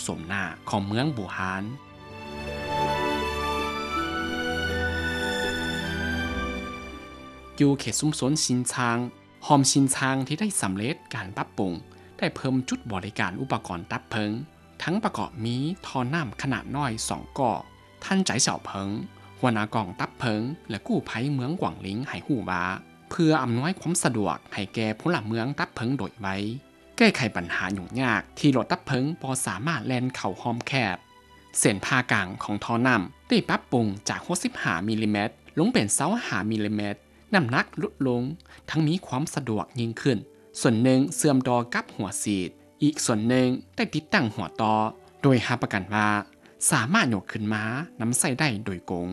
ຕົມໜ້າຂອງເມືອງບູຮານ. ຢູ່ເຂດຊຸມຊົນຊິນຊາງ, ຮ່ອມຊິນຊາງທີ່ໄດ້ສຳເລັດການປັບປຸງ ໄດ້ເພີ່ມຈຸດບໍລິການອຸປະກອນດັບເພີງ, ທັງປະກອບມີທໍ່ນ້ຳຂະໜາດນ້ອຍສອງກໍ. ທ່ານ ໃຈເສົາເຜິງ, ຫົວໜ້າກອງດັບເພີງ ແລະ ກູ້ໄພເມືອງກວາງລິງ ໃຫ້ຮູ້ວ່າ ເພື່ອອຳນວຍຄວາມສະດວກໃຫ້ແກ່ພົນລະເມືອງດັບເພີງໂດຍໄວ, ແກ້ໄຂບັນຫາຫຍຸ້ງຍາກທີ່ລົດດັບເພີງບໍ່ສາມາດແລ່ນເຂົ້າຮ່ອມແຄບ, ເສັ້ນຜ່າກາງຂອງທໍ່ນ້ຳໄດ້ປັບປຸງຈາກຫົກສິບຫ້າມິລລີແມັດ ລົງເປັນຊາວຫ້າມິລລີແມັດ, ນ້ຳໜັກຫຼຸດລົງ ທັງມີຄວາມສະດວກຍິ່ງຂຶ້ນ. ສ່ວນໜຶ່ງເຊື່ອມຕໍ່ກັບຫົວສີດ, ອີກສ່ວນໜຶ່ງໄດ້ຕິດຕັ້ງຫົວຕໍ່, ໂດຍຮັບປະກັນວ່າສາມາດຍົກຂຶ້ນມານຳໃຊ້ໄດ້ໂດຍກົງ.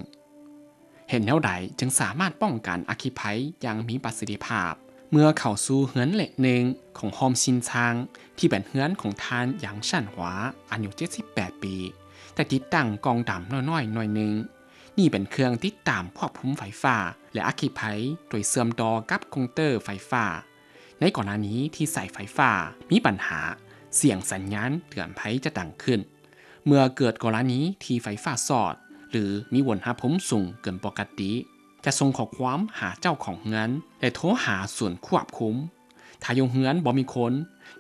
ເຮັດແນວໃດຈຶ່ງສາມາດປ້ອງກັນອັກຄີໄພຢ່າງມີປະສິດທິພາບ? ເມື່ອເຂົ້າສູ່ເຮືອນເລກໜຶ່ງຂອງຮ່ອມຊິນຊາງ ທີ່ເປັນເຮືອນຂອງທ່ານ ຢາງ ຊານຫວາ ອາຍຸເຈັດສິບແປດປີ, ໄດ້ຕິດຕັ້ງກ່ອງດຳນ້ອຍໆໜ່ວຍໜຶ່ງ. ນີ້ເປັນເຄື່ອງຕິດຕາມຄວບຄຸມໄຟຟ້າ ແລະ ອັກຄີໄພ ໂດຍເຊື່ອມຕໍ່ກັບກົງເຕີໄຟຟ້າ. ໃນກໍລະນີທີ່ສາຍໄຟຟ້າມີບັນຫາ, ສຽງສັນຍານເຕືອນໄພຈະດັງຂຶ້ນ. ເມື່ອເກີດກໍລະນີທີ່ໄຟຟ້າຊອດ ຫຼື ມີອຸນຫະພູມສູງເກີນປົກກະຕິ, ຈະສົ່ງຂໍ້ຄວາມຫາເຈົ້າຂອງເຮືອນ ແລະ ໂທຫາສູນຄວບຄຸມ. ຖ້າຢູ່ເຮືອນບໍ່ມີຄົນ,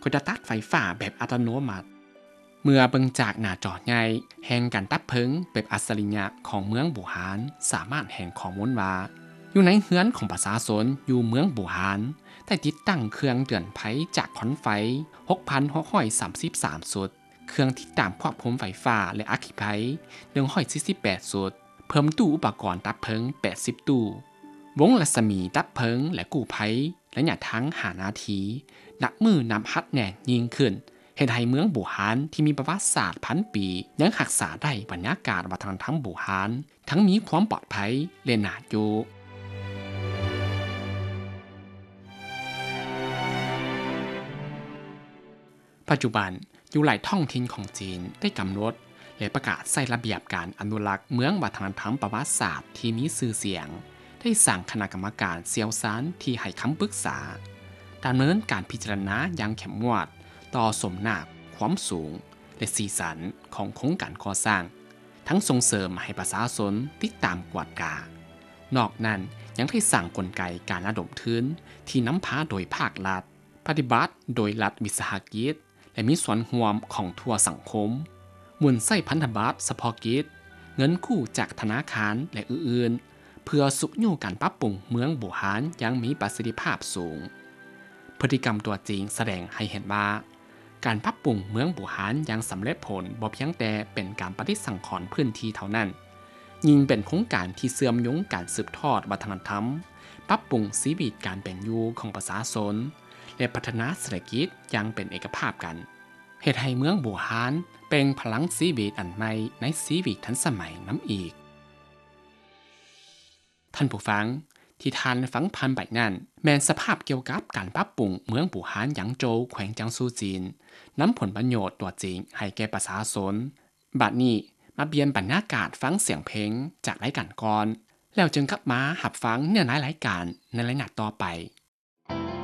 ກໍຈະຕັດໄຟຟ້າແບບອັດຕະໂນມັດ. ເມື່ອເບິ່ງຈາກໜ້າຈໍໃຫຍ່, ແຫ່ງການດັບເພີງແບບອັດສະລິຍະຂອງເມືອງບູຮານ ສາມາດແຫ່ງຂໍ້ມູນວ່າ ຢູ່ໃນເຮືອນຂອງປະຊາຊົນຢູ່ເມືອງບູຮານ ໄດ້ຕິດຕັ້ງເຄື່ອງເຕືອນໄພຈາກຄວັນໄຟ ຫົກພັນຫົກຮ້ອຍສາມສິບສາມຊຸດ, ເຄື່ອງຕິດຕາມຄວບຄຸມໄຟຟ້າ ແລະ ອັກຄີໄພ ໜຶ່ງຮ້ອຍສີ່ສິບແປດຊຸດ, ເພີ່ມຕູ້ອຸປະກອນດັບເພີງ ແປດສິບຕູ້. ວົງລັດສະໝີດັບເພີງ ແລະ ກູ້ໄພ ໄລຍະທາງຫ້ານາທີ ນັບມື້ນັບຮັດແໜ້ນຍິ່ງຂຶ້ນ, ເຮັດໃຫ້ເມືອງບູຮານທີ່ມີປະຫວັດສາດພັນປີ ຍັງຮັກສາໄດ້ບັນຍາກາດວັດທະນະທຳບູຮານ, ທັງມີຄວາມປອດໄພ ແລະ ໜ້າຢູ່. ປັດຈຸບັນ, ຢູ່ຫຼາຍທ້ອງຖິ່ນຂອງຈີນໄດ້ກຳນົດ ແລະ ປະກາດໃຊ້ລະບຽບການອະນຸລັກເມືອງວັດທະນະທຳປະຫວັດສາດທີ່ມີຊື່ສຽງ, ໄດ້ສ້າງຄະນະກຳມະການຊ່ຽວຊານທີ່ໃຫ້ຄຳປຶກສາ, ດຳເນີນການພິຈາລະນາຢ່າງເຂັ້ມງວດຕໍ່ສົມໜ້າຄວາມສູງ ແລະ ສີສັນຂອງໂຄງການກໍ່ສ້າງ, ທັງສົ່ງເສີມໃຫ້ປະຊາຊົນຕິດຕາມກວດກາ. ນອກນັ້ນ, ຍັງໄດ້ສ້າງກົນໄກການລະດົມທຶນທີ່ນຳພາໂດຍພາກລັດ, ປະຕິບັດໂດຍລັດວິສາຫະກິດ ແລະ ມີສ່ວນຮ່ວມຂອງທົ່ວສັງຄົມ, ໝູນໃຊ້ພັນທະບັດສະເພາະກິດ, ເງິນກູ້ຈາກທະນາຄານ ແລະ ອື່ນໆ ເພື່ອຊຸກຍູ້ການປັບປຸງເມືອງບູຮານຢ່າງມີປະສິດທິພາບສູງ. ພຶດຕິກຳຕົວຈິງສະແດງໃຫ້ເຫັນວ່າ ການປັບປຸງເມືອງບູຮານຢ່າງສຳເລັດຜົນບໍ່ພຽງແຕ່ເປັນການປະຕິສັງຂອນພື້ນທີ່ເທົ່ານັ້ນ, ຍິ່ງເປັນໂຄງການທີ່ເຊື່ອມໂຍງການສືບທອດວັດທະນະທຳ, ປັບປຸງຊີວິດການເປັນຢູ່ຂອງປະຊາຊົນ ແລະ ພັດທະນາເສດຖະກິດຢ່າງເປັນເອກະພາບກັນ, ເຮັດໃຫ້ເມືອງບູຮານເປັ່ງພະລັງຊີວິດອັນໃໝ່ໃນຊີວິດທັນສະໄໝນຳອີກ. ທ່ານຜູ້ຟັງ, ທີ່ທ່ານຟັງຜ່ານໄປນັ້ນ ແມ່ນສະພາບກ່ຽວກັບການປັບປຸງເມືອງບູຮານຢາງໂຈວ ແຂວງຈາງຊູ ຈີນ, ນຳຜົນປະໂຫຍດຕົວຈິງໃຫ້ແກ່ປະຊາຊົນ. ບັດນີ້, ມາປ່ຽນບັນຍາກາດຟັງສຽງເພງຈາກລາຍການກ່ອນ, ແລ້ວຈຶ່ງກັບມາຮັບຟັງເນື້ອໃນລາຍການໃນໄລຍະຕໍ່ໄປ.